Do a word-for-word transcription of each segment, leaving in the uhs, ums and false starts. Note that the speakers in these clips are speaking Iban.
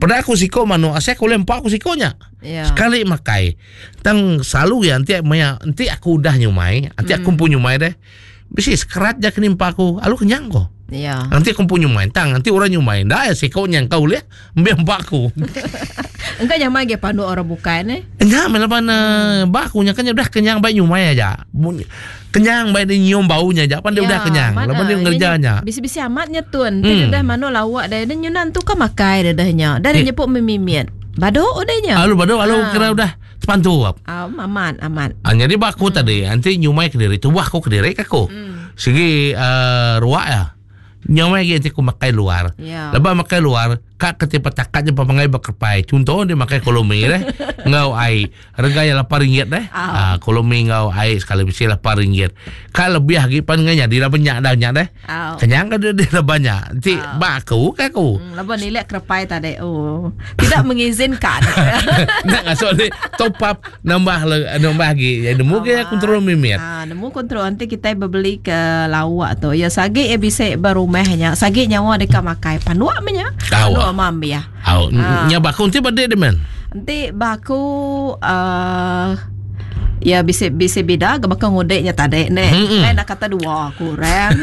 Peda aku siko manuk asai aku ulih empa aku siko nya. Ya. Sekali makai. Tang selalu ya enti maya enti aku udah nyumai, enti aku empu nyumai deh. Bisi sekerat ja kena empa aku, alu kenyang ko. Ya. Nanti aku empu nyumai, tang nanti orang nyumai, nda ya siko nya engkau ulih embih empa aku. Engka nyamai agi panduk orang bukai neh. Nya meh laban hmm. ba aku nya kan udah kenyang baik nyumai aja. Kenyang baik dia nyium bau nya aja pan dia Ya, udah kenyang. amat Laban dia ah. ngereja nya. Bisi-bisi amat nya tun. Ti Hmm. dah manuk lawak dah dia nyunan tu ka makai dah dah nya. Dah dia Eh. nyepuk mimit. Badu udah nya. Alu badu alu Ah. kira udah terpantu. Ah, amat amat. Ah, jadi ba aku tadi nanti nyumai kediri tubuh aku kediri ke aku. Hmm. Segi uh, ruak ya. Nyumai lagi nanti aku makai luar. Ya. Lepas makai luar, kak ketipa takat je pemangai berkerpai. Contoh dia makai kolomi deh, ngau air. Harga yang lapan ringgit deh. Ah. Ah, kolomi ngau air sekali bisi lapan ringgit. Kak lebih lagi pan ngau jadi dah banyak dah banyak deh. Ah. Kenyang ke dia, dia dah banyak. Nanti ba aku ke aku. Hmm, laban nilai kerpai tadi. Oh, tidak mengizinkan. Nak ngasuk ni top up nambah le, nambah lagi. Ya nemu ke kontrol mimit. Ah, nemu kontrol nanti kita berbeli ke lawak tu. Ya sagi ya bisa berumahnya. Sagi nyawa dekat makai. Panduak menya. Tahu. Panduak mam ya. Au, Ah. nya baku nanti badai dia men. Nanti baku uh, ya bisa bisa beda ke bakal ngudeknya tadi ne. Mm-mm. Lain nak kata dua kurang.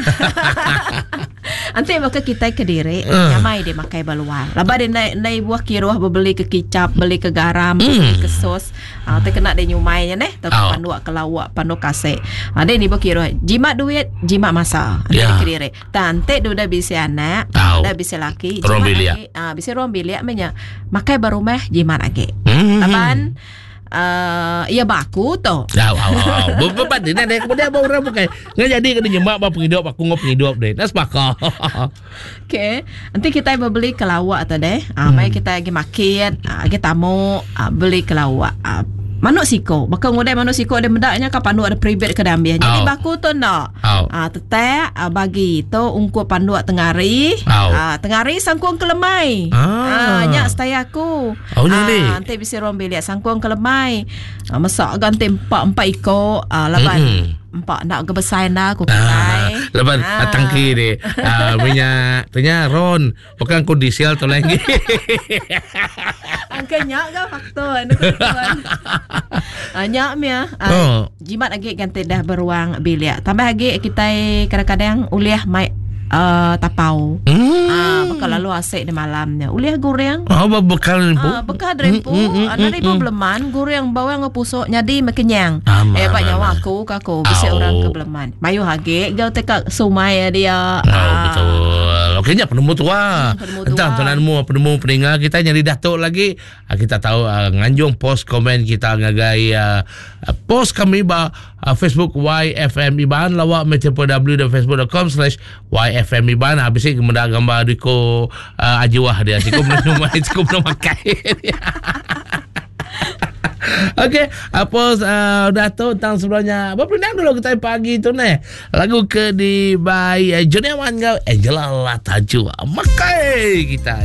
Nanti bakal kita ke diri Uh. nyamai dia makai baluar. Laba dia naik naik buah kiruh beli ke kicap, beli ke garam, Mm. beli ke sos. Ah uh, kena dia nyumainya neh, atau Oh. panduk ke lawak, panduk kasih. Ah dia ni buah kiruh. Jimat duit, jimat masa. Nanti Ya. ke diri. Tante dia udah bisa anak, Tahu. udah bisa laki, Ruang jimat bilik. lagi. Ah bisa ruang bilik menya. Makai berumah jimat lagi. Hmm. Laban uh, ya baku tu. Au, au, au. Beban dia nak kemudian abang orang bukan. Nggak jadi kena nyemak bab penghidup aku ngop penghidup deh. Nak sepakah. Okey. Nanti kita beli ke lawak tu deh. Ah, hmm. Mai kita pergi market, ah, pergi tamu, ah, beli ke lawak. Ah, manuk siko. Bakal ngudai manuk siko dia mendaknya ka panduk ada private ke dambia. Jadi Au. baku tu nak. Au. Ah, tetek ah, bagi tu ungkup panduk tengari. Au. Ah, tengari sangkung kelemai. Ah. Ah, nyak setaya aku. Oh, jadi. Ah, nanti bisa ruang bilik sangkung kelemai. Ah, masak ganti empat empat ekor. Ah, laban Mm-mm. empat nak ke besar dah aku Ah, pakai. lepas ah. tangki deh. Ah, minyak tanya ron, bukan ku diesel tu lagi. Angka nyak ke faktor anu kebetulan. Ah, nyak mia. Ah, Oh. Jimat lagi ganti dah beruang bilik. Tambah lagi kita kadang-kadang uliah mai uh, tapau. Hmm. Ah, bakal lalu asik di malamnya. Uliah goreng. Oh, bekal ni Ah, bekal derempu, Mm, mm, mm, ada ribu mm. beleman, goreng bawang ngepusuk nyadi mekenyang. Aman, Eh, pak nyawa aman. aku kaku bisa Au. orang ke beleman. Mayu hage gau tekak sumai dia. Oh, betul. Okey, nya penemu tua. Hmm, penemu Entah tua. penemu penemu pendengar kita nyari datuk lagi. Ah, Kita tahu uh, nganjung post komen kita ngagai uh, post kami ba uh, Facebook Y F M Iban lawak w dot facebook dot com slash Y F M Iban. Habis ni kemudian gambar Riko uh, Ajiwah dia. Siku belum siku belum makai. Okey, apa uh, Datuk tentang sebelumnya. Berpindah dulu kita pagi tu ni. Lagu ke di by uh, Johnny Aman ngau Angela Latajua. Makai kita.